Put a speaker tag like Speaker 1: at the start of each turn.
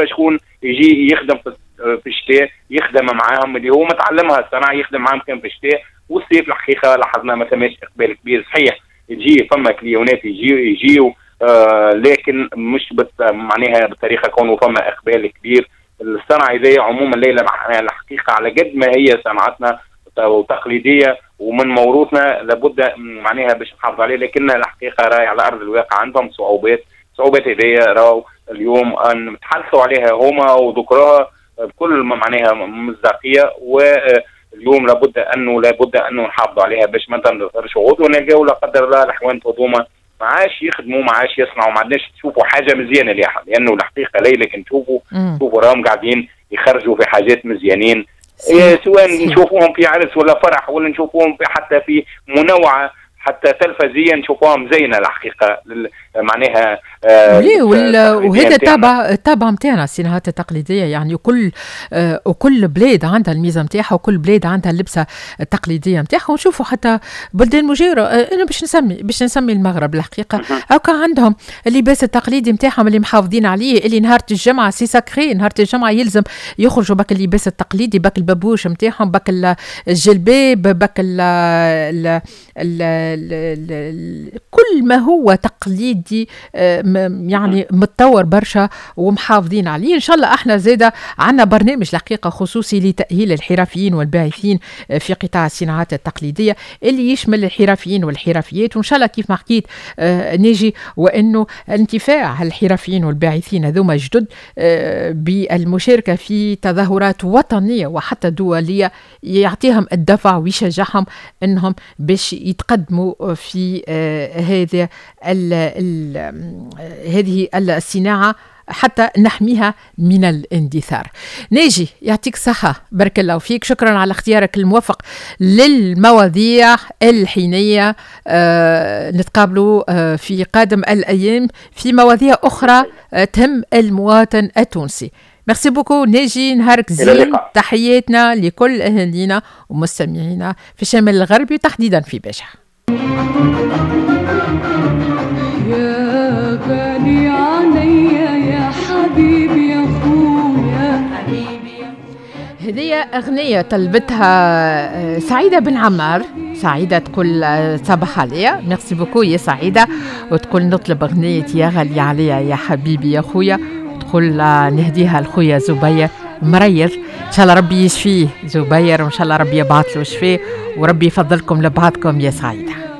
Speaker 1: شكون يجي يخدم في الشتاء، يخدم معاهم اللي هو متعلمها الصناعه، يخدم معاهم كان في الشتاء. والصيف الحقيقة لاحظنا ما ثماش اقبال كبير. صحيح يجي فما client ات يجيو لكن مش معناها بطريقة كونه فما اقبال كبير. الصنعة هذه عموما ليلى الحقيقة على قد ما هي صنعتنا وتقليديه ومن موروثنا لابد معناها باش نحافظ عليه، لكن الحقيقة راهي على ارض الواقع عندهم صعوبات. صعوبات هذه راهو اليوم ان تحدثوا عليها هما وذكروها بكل معناها مصداقيه، واليوم لابد انه نحافظوا عليها باش ما تندثرش ونلقاو لا قدر الله الحوانت هذوما ما عادش يخدموا، ما عادش يصنعوا، ما عادش تشوفوا حاجة مزيانه ليها. لانه الحقيقة ليلى كي نشوفوا راهم قاعدين يخرجوا في حاجات مزيانين، سواء نشوفوهم في عرس ولا فرح ولا نشوفوهم في حتى في منوعة حتى تلفزيا نشوفوها مزينة الحقيقة معناها.
Speaker 2: وهذا التابع نتاعنا الصناعات التقليديه، يعني وكل بلاد عندها الميزة نتاعها وكل بلاد عندها اللبسه التقليدية نتاعها. ونشوفوا حتى بلدان مجاوره، انا باش نسمي المغرب الحقيقه، هكا عندهم اللباس التقليدي نتاعهم اللي محافظين عليه، اللي نهار الجمعة c'est sacré، نهار الجمعة يلزم يخرجوا بك اللباس التقليدي، بك البابوش نتاعهم، بك الجلباب، بك ال ال ال كل ما هو تقليدي، يعني متطور برشا ومحافظين عليه. ان شاء الله احنا زاده عندنا برنامج الحقيقة خصوصي لتاهيل الحرفيين والباعثين في قطاع الصناعات التقليدية اللي يشمل الحرفيين والحرفيات. وان شاء الله كيف ما حكيت ناجي، وانه انتفاع الحرفيين والباعثين هذوما جدد بالمشاركة في تظاهرات وطنية وحتى دولية يعطيهم الدفع ويشجعهم انهم باش يتقدموا في هذا هذه الصناعة حتى نحميها من الاندثار. ناجي يعطيك صحة، بارك الله فيك، شكرا على اختيارك الموفق للمواضيع الحينية. نتقابلوا في قادم الأيام في مواضيع أخرى تهم المواطن التونسي. merci beaucoup ناجي، نهارك زين، تحياتنا لكل أهالينا ومستمعينا في الشمال الغربي تحديدا في باجة. يا غالي عليا يا حبيبي يا خويا. هذه أغنية طلبتها سعيدة بن عمار. سعيدة تقول صباح عليا، merci beaucoup يا سعيدة، وتقول نطلب أغنية يا غالي عليا يا حبيبي يا خويا، تقول نهديها لخويا زبير مريض، ان شاء الله ربي يشفيه زبير، وان شاء الله ربي يبعث له شفيه وربي يفضلكم لبعضكم يا سعيده.